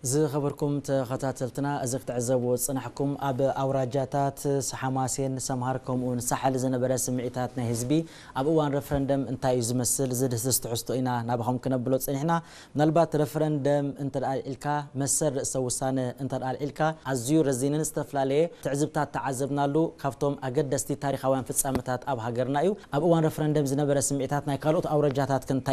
ዝኸበርኩም ተኸታተልትና፣ እዚ ክትዕዘብዎ ዝጸናሕኩም ኣብ ኣውራጃታት ሓማሴን፣ ሰምሃር ከምኡውን ሳሕል ዝነበረ ስምዒታት ናይ ህዝቢ ኣብ እዋን ረፈረንደም እንታይ እዩ ዝመስል ዝድህስስ ትሕዝቶ ኢና ናባኹም ክነብሎ ጸኒሕና። ምናልባት ረፈረንደም እንተ ደኣ ኣልዒልካ፣ መሰል ርእሰ ውሳነ እንተ ደኣ ኣልዒልካ፣ ኣዝዩ ረዚንን ዝተፈላለየ ትዕዝብታት ተዓዘብናሉ። ካብቶም ኣገደስቲ ታሪኻውያን ፍጻመታት ኣብ ሃገርና እዩ። ኣብ እዋን ረፈረንደም ዝነበረ ስምዒታት ናይ ካልኦት ኣውራጃታት